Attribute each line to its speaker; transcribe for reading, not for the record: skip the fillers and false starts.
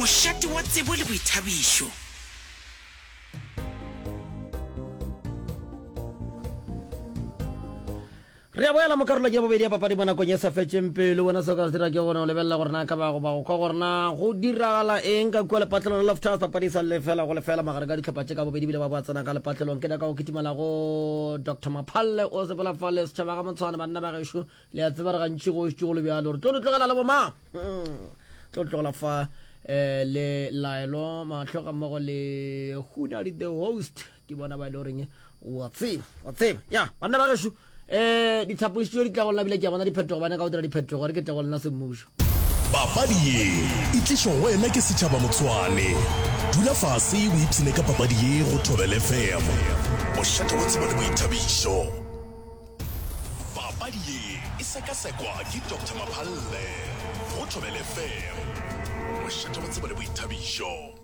Speaker 1: Mošate wa tsebo le boithabišo.
Speaker 2: Re a boela mo karolong ya bobedi ya papadi mo nakong e sa fetšeng pelo. Wena se o ka se dira ke gore o lebelela gore na ka ba goba go kwa gore na go diragala eng ka kua lepatlelong la Loftus. Papadi e sa le lefela go lefela magareng ka dihlopha tše ka bobedi bile ba boa tsena ka lepatlelong. Ke nyaka go kitimela go Doctor Maphalle o sepela fale setšhaba ga Motshwane banna ba gešo le a tseba re gantši go šetše go le bjalo re tlo le tlogela le bomang hmm. tlo tlogela fa eh, le laelo mahlo ga mmogo le hunadi the host ke bona ba e le goreng wa tseba wa tseba ya banna ba gešo um dithapoši tšeo di tla go lena bile ke a bona diphetogo ba nyaka go dira diphetogo re ke tle go lena semmušo
Speaker 3: Papadi ye e tlišwa go wena ke setšhaba Motshwane. Dula fase o ipshine ka papadi ye go Thobela FM. Mošate wa tsebo le boithabišo. Papadi ye e sekasekwa ke Doctor Maphalle go Thobela FM. Mošate wa tsebo le boithabišo.